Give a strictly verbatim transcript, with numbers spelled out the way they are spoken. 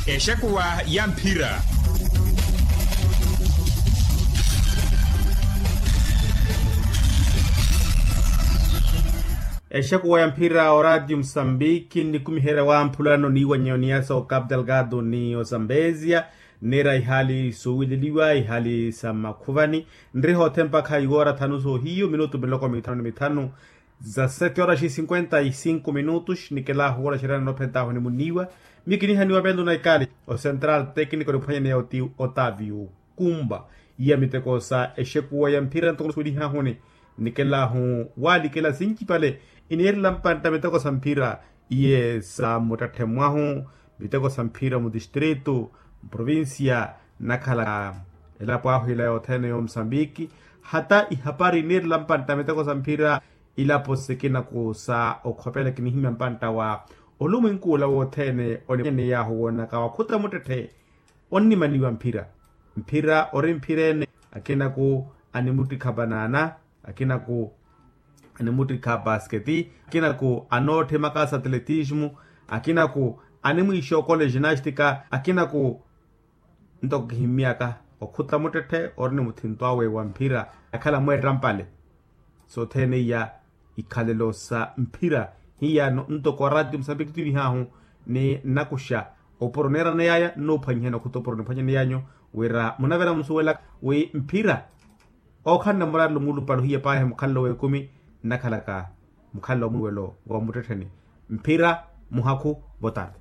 Exekuwa ya mphira. Exekuwa ya mphira oradio musambiki nnikumiherya wamphulano niiwanyeyo niyasa o capital gado ni o zambezia. Nira ihali suwileliwa ihali sa makhuvani. Nriha othempakha iwora thanu soohiyo minutu miloko mithanu ni mithanu. Za sete horas e cinquenta e cinco minutos nikelahu wolaxerya nanophentahu ni muniiwa. Miyo kinihaniwa pento na ikali o central técnico niphwanyaneya oti otavio kumba. Iya miteko sa exekuwa ya mphira ntoko nisuwelihahuni nikelahu walikela sincipale. Ineerela mpantta miteko sa mphira iye sa muttetthe mwahu miteko sa mphira mu distrito mprovincia nakhala elapo ahu ila yothene yo musambiki. Hata ihapari ineerela mpantta miteko sa mphira ilapo sikinaku sa okhopela kinihimya mpantta wa olumwenku ola wothene oniyahu woonaka wakhuta muttetthe onnimaniwa mphira. Mphira ori mphira ene akinaku animuttikha banana akinaku animuttikha basketi akinaku anootthimaka sa atletismo akinaku animwiixokola ginastika akinaku ntoko kihimmyaka okhuta muttetthe ori ni muthinto awe wa mphira akhala mweetta mpale. Sothene iya ikhalelo sa mphira hiyano ntoko oraati musambiki tunihahu ni nnakuxa opuro neerana yaya nnoophwanyihana okhuta opuro niphwanyaneyanyu wira munavera musuwelaka wi mphira ookhalana murarelo muulupale ohiya paahi mukhalelo w'ekumi nnakhalaka mukhalelo wa muttettheni mphira muhakhu votari.